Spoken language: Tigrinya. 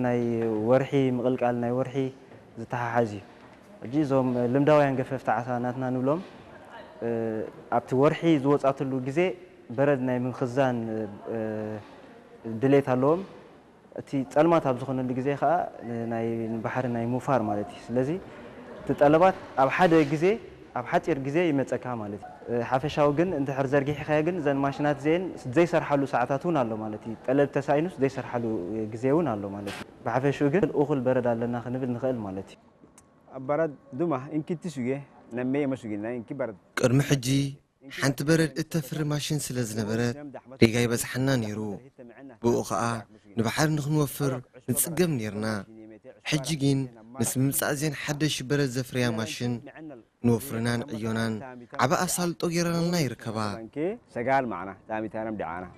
ናይ ወርሒ ምቕልቃል ናይ ወርሒ ዝተሓሓዝ እዩ። ሕጂ እዞም ልምዳውያን ገፈፍቲ ዓሳ ናትና ንብሎም ኣብቲ ወርሒ ዝወፃትሉ ግዜ በረድ ናይ ምኽዛን ድሌት ኣለዎም። እቲ ፀልማት ኣብ ዝኾነሉ ግዜ ከዓ ናይ ባሕሪ ናይ ምውፋር ማለት እዩ። ስለዚ እቲ ጠለባት ኣብ ሓደ ግዜ ኣብ ሓፂር ግዜ ይመፀካ ማለት እዩ። ሓፈሻዊ ግን እንድሕር ዘርጊሕካዮ ግን እዘን ማሽናት እዚአን ዘይሰርሓሉ ሰዓታት እውን ኣሎ ማለት እዩ። ጠለብ ተሳኢኑስ ዘይሰርሓሉ ግዜ እውን ኣሎ ማለት እዩ። ብሓፈሽኡ ግን እኹል በረድ ኣለና ክንብል ንኽእል ማለት እዩ። Bara duma inkitti suge nammee ma suginna inki bara ቅድሚ ሕጂ ሓንቲ በረድ እተፍሪ ማሽን ስለ ዝነበረት ሪጋ ይበዝሓና ነይሩ። ብኡ ኸኣ ንባሕሪ ንኽንወፍር ንጽገም ነይርና። ሕጂ ግን ምስ ምምጻእ እዘን ሓደሽ በረድ ዘፍርያ ማሽን ንወፍርናን ዕዮናን ዓቢ ኣሳልጦ ገይረናልና ይርከባ። Sagaal macna taamitaanam dhacaana.